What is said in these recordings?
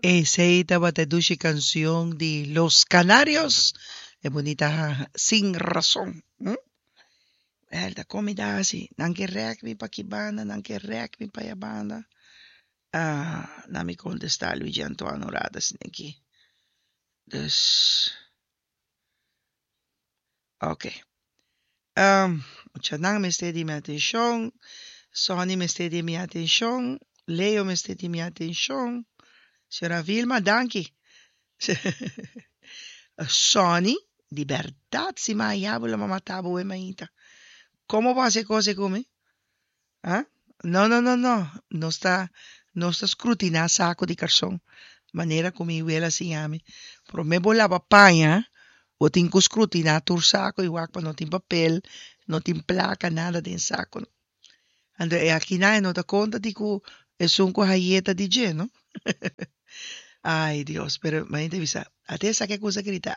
Esey tabata e dushi cancion di Los Canarios, e bunita Sin Razon. Hm? El ta comida asi, nan ke rek mi pa ki banda, nan ke rek mi pa ya banda. Ah, na mi contesta Luigi Antoine un rato asina aki. Dus, ok. Um, muchanan mester di mi atencion, Sonny mester di mi atencion, Leo mester di mi atencion, Señora Vilma, danki. Sonny, di berdad si mi haya bo lo mi a mata bo we mainta. Como bo haci e cos ey cu mi? Ah? No, no, no, no. Nos ta, nos ta scrutiná saco di carson, manera cu mi wela a siña mi. Promé bo laba paña, bo tin cu scrutiná tur saco i wak pa no tin papel, no tin placa, nada den saco. Anto e akinan e no ta conta di cu esun cu haye ta di dje, no? Ay, Dios, pero mi ta bisa, ate esaki a cusa grita,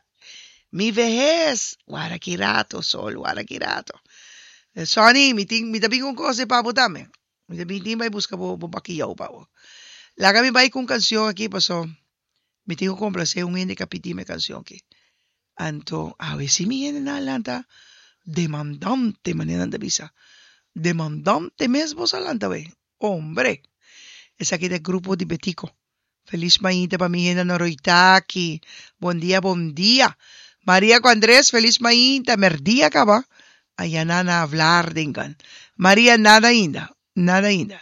Mi vehes! Wara ki rato, Sol, wara ki rato. Sonny, mi tin, mi ta bin un cos pa bo tambe. Mi ta bin tin bai busca bo, bo bakiyou pa bo. Laga mi bai cu un cancion aki, paso mi tin cu complace un hende cu a pidi mi e cancion aki. Anto, awe si mi hendenan a lanta demandante, manera nan ta bisa. Demandante mes boso a lanta awe. Hombre! Esaki ta e grupo di Betico. Feliz mainta pa mi hende na Roitaki. Bon dia, bon dia. Maria cu Andres, feliz mainta. Merdia caba. Aya nan a Vlaardingen. Maria, nada ainda. Nada ainda.